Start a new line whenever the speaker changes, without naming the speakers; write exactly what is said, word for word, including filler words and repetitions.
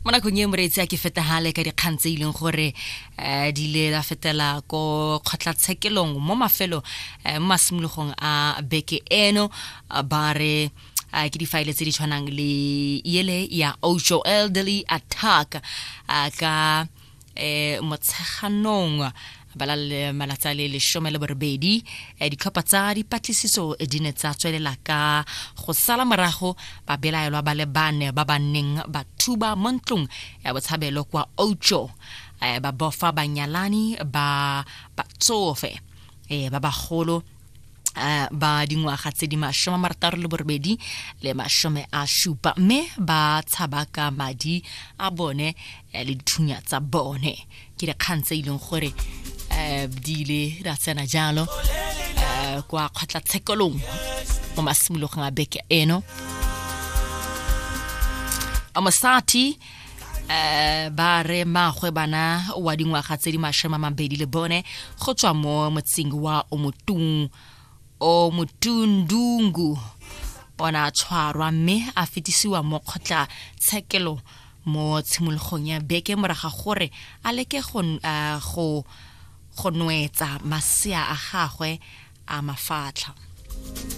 Mo nakong e, moreetsi, a ke fetagale ka dikgang tse e leng gore um di ile la fetela ko kgotlatshekelong mo mafelo eh, mo masimologong a beke eno. Ah, ba re ah, ke difaele tse di tshwanang le ele ya Outjo elderly attack, ah, ka eh Motsheganong ba la le malatsi a le lesome le borobedi, eh, ditlhopha tsa dipatlisiso di ne tsa tswelela ka go sala morago babelaelwa ba le bane ba ba neng ba thuba mo ntlong ya botshabelo kwa Outjo, eh, ba bofa banyalani ba batsofe eh, ba bagolo eh, ba dingwaga tse di masome a marataro le borobedi le masome a supa, mme ba tshaba ka madi a bone eh, le dithunya tsa bone. Ke dikgang tse e leng gore um di ile ra tsena jalo eh, kwa kgotlatshekelong mo masimologong a beke eno. A mosati eh ba re magwe bana wa dingwaga tse di masome a mabedi le bone go tswa mo motseng wa Omotung Omotundungu ona a tshwarwa mme a fetisiwa mo kgotlatshekelo mo tshimologong ya beke moraga gore a leke go eh, go go nwetsa masea a gagwe a mafatlha.